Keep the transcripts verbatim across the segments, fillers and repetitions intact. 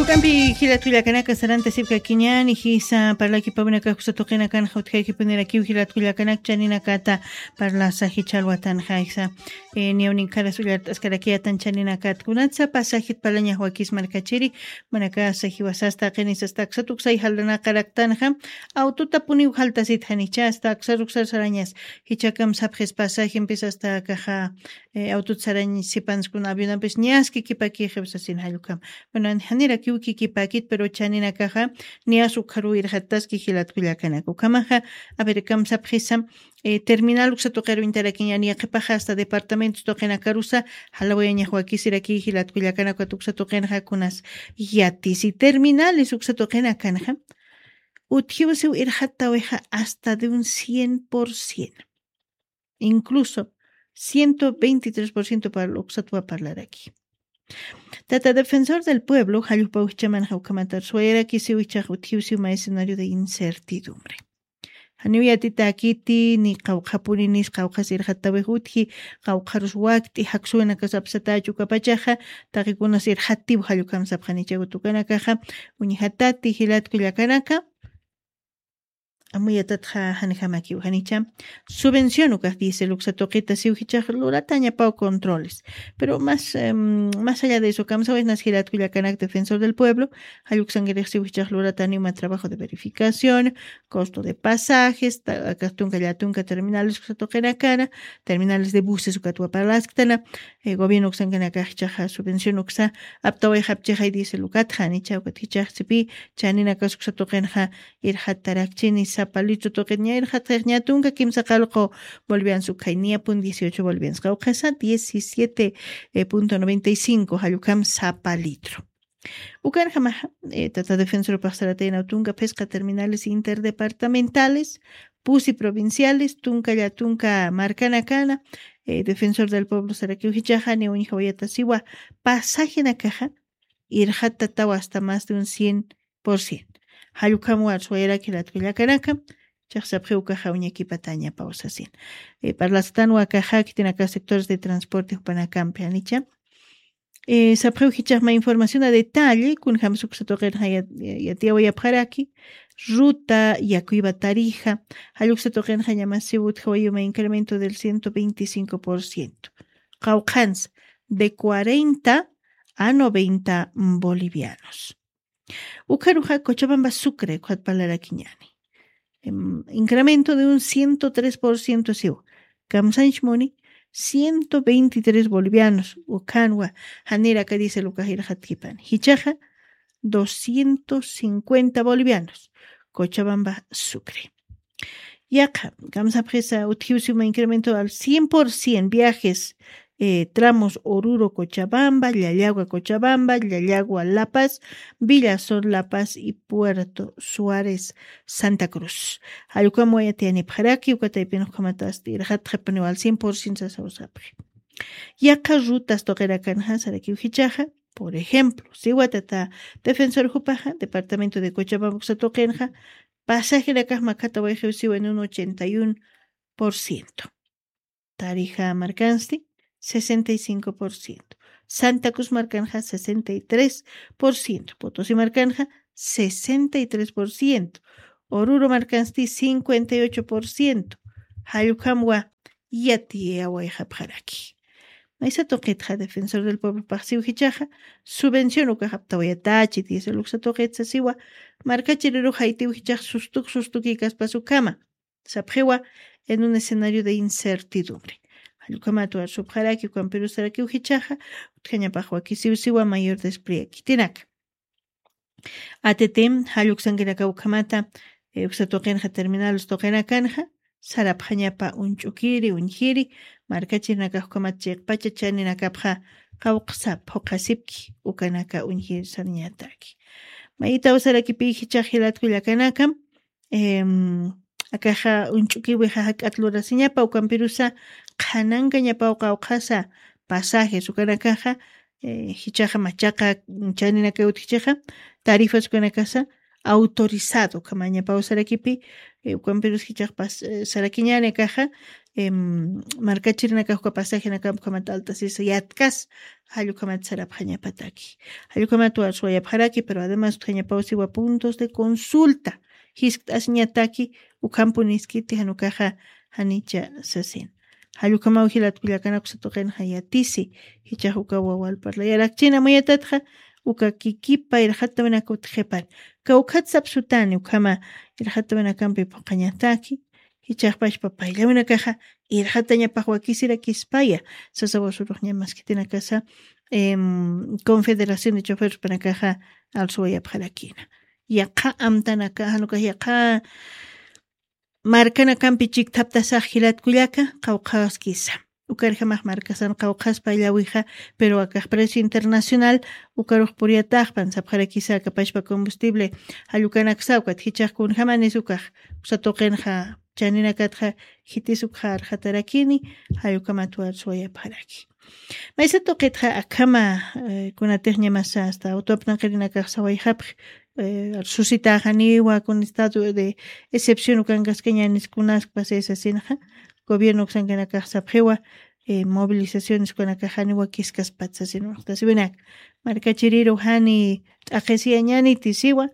Ukampi jilatkullakanaka sarantasipkakiñani jisa parlakipawinakaksa tuqinakanxa utjakipunirakiw jilatkullakanak chaninakata parlasa jichhalwatanxa jisa. Niyawninkaras ullart'askarakiyatan chaninakat kunatsa pasajit parlañaxwakis markachiri manakasa jiwasasta qinisasta aksatuksay jaldanaqaraktanxa. Awtutapuniw jaltasitxanichasta aksaruksar sarañas jichakam sapxis pasajempis asta akaxa awtut sarañ sipanskuna avionampis ñaski kipakixipsasin jallukam. Bueno janirakiw kikipakit pero chaninakaxa niyas ukharuw irxattaski jilatkullakanaka ukhamaxa. Averkam sapxisam terminal uksa tuqiruñtarakiñani yaqhipaxa asta departamentos tuqinakarusa jalawayañaxwakisiraki jilatkullakanakat uksa tuqinxa kunas yatisi terminales uksa tuqinakanxa utjiwsiw irxattawixa asta de un cien por cien. Incluso ciento veintitrés por ciento para uksatwa parlaraki. Tata defensor del pueblo jallupawixchaman jawkamatar suwayarakisiwichaq utjiwsiw ma escenario de incertidumbre. Janiw yatitakiti ni qawqhapuni nis qawqhas irxattawix utji qawqharus wakt'i jaksuwinakas apsatachu ukapachaxa taqikunas irxattiw jallukam sapxanichaw tukanakaxa. Uñjatati jilatkullakanaka. Amuyatatxa janijamakiw janicha subvención ukax diésel uksa tuqita siw jichax luratañapaw controles. Pero más más allá de eso kamsawaynas jilatkullakanak defensor del pueblo jalluksankirix siw jichax lurataniw ma trabajo de verificación, costo de pasajes, akax tunka llatunka terminales uksa tuqinakana terminales de buses ukatwa parlasktana. Gobierno uksankanakax jichaxa subvención uksa aptawayxapchixay diésel ukatxa janicha ukat jichax sipi chaninakas uksa tuqinxa irxattarakchini sapa litro tuqit ña irxatxix ña tunka kimsa qalqu bolivianos ukhay niyapun dieciocho bolivianos qawqhasa diecisiete punto noventa y cinco jallukam sapa litro. Ukanjamaxa tata defensorpax sarataynaw tunka phisqa terminales interdepartamentales pusi provinciales tunka llatunka markanakana defensor del pueblo sarakiw jichaxa niw uñjawayatasiwa pasajenakaxa irxattatawa asta más de un cien por cien. Jallukhamwa suwayaraki latkullakanaka chax sapxiw ukaxa uñakipatañapaw sasin. Parlasatanwa kaxa khitinaka sectores de transporte jupanakampi janicha sapxiw jichaxma información a detalle kunjam suksa tuqinxa yatiyawayapxaraki. Ruta yakuywa tarija jalluksa tuqinxa ñamasiw utjawayuma incremento del ciento veinticinco por ciento. Qawqhansa de cuarenta a noventa bolivianos. Ukharuxa cochabamba sucre ukhat parlarakiñani incremento de un ciento tres por ciento siw kamsanchmuni ciento veintitrés bolivianos ukhanwa. Janiraka diésel ukax irxatkipani jichaxa doscientos cincuenta bolivianos. Cochabamba sucre. Yaqa kamsapxisa utjiwsiwma incremento al cien por cien viajes tramos oruro cochabamba llallagua cochabamba llallagua la paz, villazón la paz y puerto suárez santa cruz. Jallukam wayatiyanipxaraki ukataypinxukhamatasti irxatxipuniw al cien por cien sasawsapxi. Yaqa rutas tuqirakanxa sarakiw jichaxa por ejemplo siwa tata defensor jupaxa departamento de cochabamba uksa tuqinxa pasajenakax makhatawayxiw siwa en un ochenta y un por ciento. Tarija markansti sesenta y cinco por ciento. Santa cruz markanxa sesenta y tres por ciento potosi markanxa sesenta y tres por ciento. Oruro markansti cincuenta y ocho por ciento. Jallukhamwa yatiyawayxapxaraki. Maysa tuqitxa defensor del pueblopax siw jichaxa subvención ukax aptawayatachi diésel uksa tuqitsa siwa markachirirux jaytiw jichax sustuk sustukikaspas ukhama sapxiwa en un escenario de incertidumbre. Jallukhamat warsupxaraki ukampirusarakiw jichaxa utjañapax wakisiw siwa mayor despliegue khitinaka. Atiti jalluksankinaka ukhamata uksa tuqinxa terminales tuqinakanxa sarapxañapa uñch'ukiri uñjiri markachirinakax ukhamat chiqpacha chaninakapxa qawqsa phuqhasipki ukanaka uñjiri sarañataki. Mayitaw sarakipi jichax jilatkullakanakam akaxa uñch'ukiwixa jak'at lurasiñapa ukampirusa qhanankañapaw qawqhasa pasajes ukanakaxa jichaxa machaqa chaninakay utjichixa tarifas ukanakasa autorizado, ukhamañapaw sarakipi, eh, ukampirus jichhax pas-, eh, sarakiñäni akaxa, em, markachirinakax uka pasajenakam ukhamat alt'asisa yatkas, jall ukhamat sarapxañapataki. Jall ukhamat warsuwayapxaraki, pero además utjañapaw siwa puntos de consulta, jiskt'asiñataki, ukhampuniskiti jan ukaxa janicha sasin. Jall ukhamaw jilat kullakanaka uksa tuqinxa yatisi, jichhax uka wawa alparlayarakchina amuyatatxa, uka kikipa irxatawinaka utjipan. Kawkhat sapsutani ukhama irxatawinakampi phuqhañataki, jichhax pachpa payllawinakaxa irxatañapax wakisirakispaya, sasawa surux ña maskitinakasa, em, Confederación de Choferes jupanakaxa arsuwayapxarakina. Yaqha amtanaka, jan ukax yaqha markanakampi chikthaptasax jilat kullaka, qawqhaskisa. Ukarjamax markasan qawqhaspa illawixa, pero akax precio internacional, ukarux puriyataxpan, sapxarakisa aka pachpa combustible, jall ukanaksa, ukat jichhax kunjamanis ukax, uksa tuqinxa, chaninakatxa, jitis ukxa arxatarakini, jall ukhamat warsuwayapxaraki. Maysa tuqitxa akhama, eh, kunatix ñamasa hasta auto apnaqarinakax sawayxapxi, eh, susitaxaniwa con estado de excepción ukankaskañanis kunaskpasa sasinxa, gobierno uksankanakax sapxiwa, eh, movilizaciones ukanakax janiwa kiskaspat sasin uñjtasiwinak. Markachiriru jani t'aqhisiyañaniti siwa,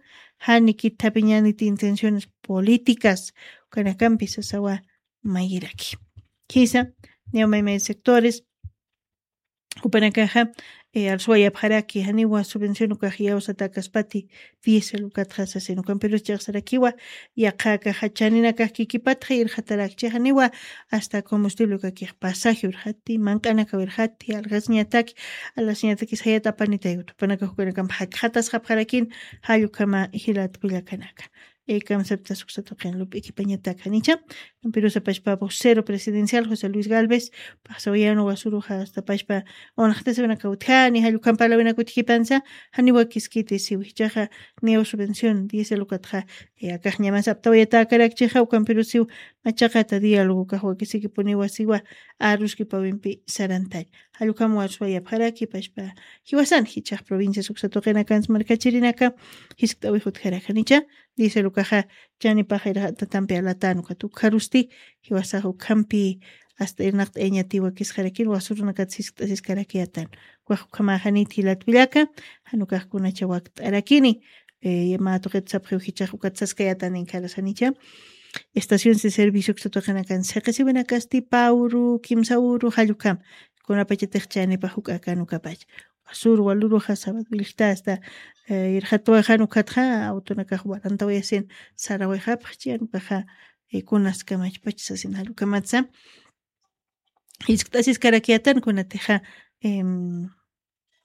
jani kithapiñaniti intenciones políticas, ukanakampi sasawa mayiraki. Jisa, niya maymay sectores, jupanakaxa, eh, arsuwayapxaraki, janiwa subvención ukax iyawsatakaspati, diésel ukatxa sasin ukampirus chiqsarakiwa, yaqha akaxa chaninakax kikipatxa irxatarakchi, janiwa hasta combustible ukakix pasaje urxati, manq'anakaw irxati, algasñataki, algasñatakis jayat apanitay jupanakax ukanakamp jakxatasxapxarakin, jall ukhama jilat kullakanaka. Eh, kamsaptas uksa tuqin lup'ikipañatak janicha, pero sapachpa vocero presidencial José Luis Galvez, pasawayan wasuruxa hasta pachpa unxtasiwinaka utjani, jall ukham parlawinaka utjipansa, janiwa kiskiti siw jichhaxa, niyaw subvención, diésel ukatxa, eh, akax ñamas aptawayatakarakchixa, ukampirus siw machaqata diálogo ukax wakisikipuniwa siwa, aruskipawimpi sarantañ. Jall ukham warsuwayapxaraki, pachpa jiwasan, jichhax provincias uksa tuqinakans markachirinaka, jiskt'awix utjarak janicha, diésel ukaxa, chanipax irxatatampi alatan ukat ukxarusti, jiwasax ukhampi hasta irnaqt'ayañatiwa kisqarakin, wasurunakat jiskt'asiskarakiyatan. Ukax ukhamaxanit jilat kullaka, jan ukax kunacha wakt'arakini, eh, mä tuqit sapxiw jichhax ukat saskayatan inkharas janicha. Estaciones de servicio uksa tuqinakan siqisiwinakasti, pä uru, kimsa uru, jall ukham. Kunapachatix chanipax juk'akan ukapach. Sur waluruxa, sábado willkta hasta, eh, irxatwaxan ukatxa, autonakax warantawayasin, sarawayxapxchi, jan ukaxa, eh, kunaskamachpach sasin jall ukhamatsa. Jiskt'asiskarakiyatan kunatixa, em,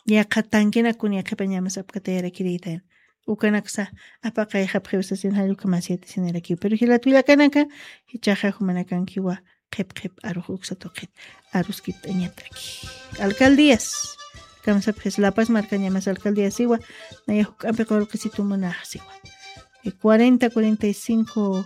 yaqha tanquenak kun yaqhipañamas apkatayarakirïtan. Ukanaksa apaqayxapxiw sasin jall ukhamas yatisinirakiw. Pero jilat kullakanaka, jichhaxa jumanakankiwa qhip qhip arux uksa tuqit aruskipt'añataki. Alcaldías, kamsapxis La Paz markañamas alcaldías siwa, naya juk'ampi qullqisitu munax siwa. Eh, cuarenta, cuarenta y cinco,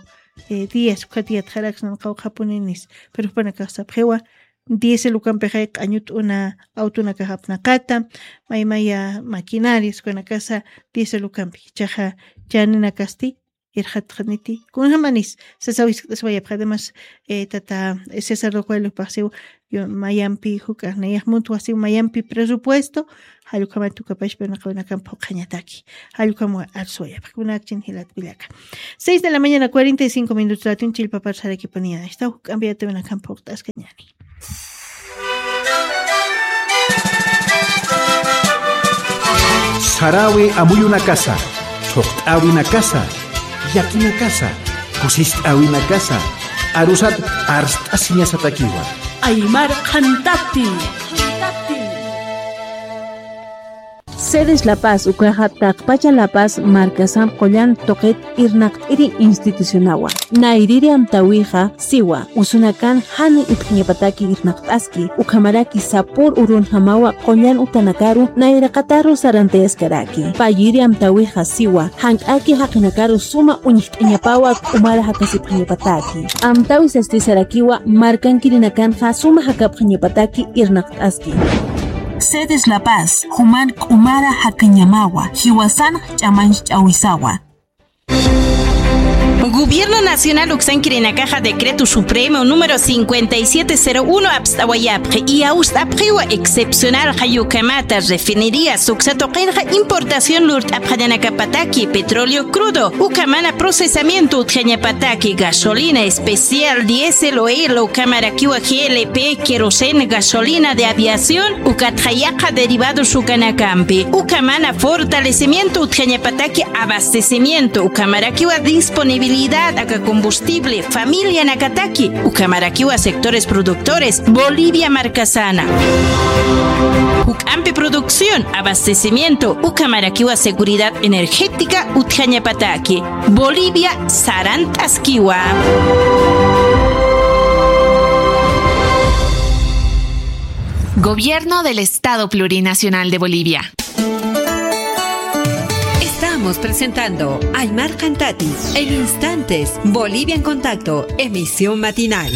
eh, días, ukat yatxaraksnan qawqhapuninis, pero jupanakax sapxiwa, diésel ukampixay q'añut'una autonakax apnaqata, maymaya maquinarias ukanakasa diésel ukampi, jichhaxa chaninakasti irxatxaniti. Kunjamanis, sasaw jiskt'asiwayapxa, además, eh, tata, eh, César Rocueloppax siw, yo, mayampi juk'a, nayax muntwa siw mayampi presupuesto, jall ukhamat ukapachpa naqawinakamp phuqhañataki. Jall ukham arsuwayapxa, kunakchin jilat kullaka. Seis de la mañana, cuarenta y cinco minutos, latin chillpapar sarakipuniya. Esta juk'ampi yatawinakamp phuqt'askañani. Sarawi amuyunakasa, thuqt'awinakasa, llakinakasa, kusist'awinakasa, arusat arst'asiñasatakiwa. Aymar qhantati. Sedes La Paz ukaxa taqpacha La Paz markasamp qullan tuqit irnaqt'iri institucionawa. Nayrïri amtäwixa siwa, usunakan jani utjañapataki irnaqt'aski, ukhamaraki sapür urunjamawa qullan utanakaru nayraqataru sarantayaskaraki. Payïri amtäwixa siwa, jank'aki jaqinakaru suma uñjt'añapawa k'umara jakasipxañapataki. Amtäwi sasti sarakiwa, markankirinakanxa suma jakapxañapataki irnaqt'aski. Sedes La Paz, juman k'umara jakañamawa, jiwasan ch'amanch'awisawa. Gobierno Nacional uksankirinakaxa Decreto Supremo número cincuenta y siete cero uno apst'awayapxi, y awst'apxiwa excepcional jayukamata refinerías uksa tuqinxa importación lurt'apxañanakapataki petróleo crudo, ukamana procesamiento utjañapataki gasolina especial, diésel o el, ukamarakiwa G L P, queroseno, gasolina de aviación, ukatxa yaqha derivados ukanakampi, ukamana fortalecimiento utjañapataki abastecimiento, ukamarakiwa disponibilidad aka combustible, familianakataki, ukamarakiwa sectores productores, Bolivia markasana. Juk'ampi producción, abastecimiento, ukamarakiwa seguridad energética utjañapataki, Bolivia sarant'askiwa. Gobierno del Estado Plurinacional de Bolivia. Estamos presentando Aymar Cantati en instantes, Bolivia en Contacto, emisión matinal.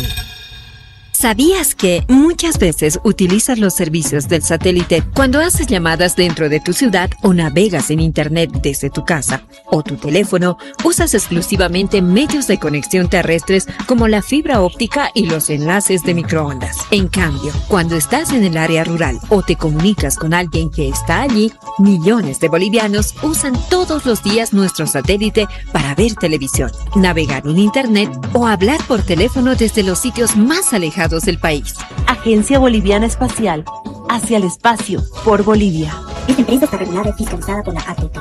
¿Sabías que muchas veces utilizas los servicios del satélite cuando haces llamadas dentro de tu ciudad o navegas en Internet desde tu casa o tu teléfono? Usas exclusivamente medios de conexión terrestres como la fibra óptica y los enlaces de microondas. En cambio, cuando estás en el área rural o te comunicas con alguien que está allí, millones de bolivianos usan todos los días nuestro satélite para ver televisión, navegar en Internet o hablar por teléfono desde los sitios más alejados del país. Agencia Boliviana Espacial, hacia el espacio, por Bolivia. Esta empresa está regulada y fiscalizada por la A T T.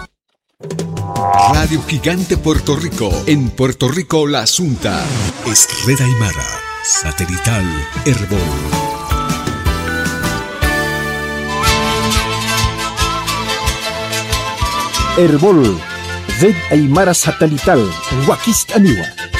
Radio Gigante Puerto Rico, en Puerto Rico la Asunta. Es Red Aymara, satelital, Erbol. Erbol, Red Aymara Satelital, wakist'aniwa.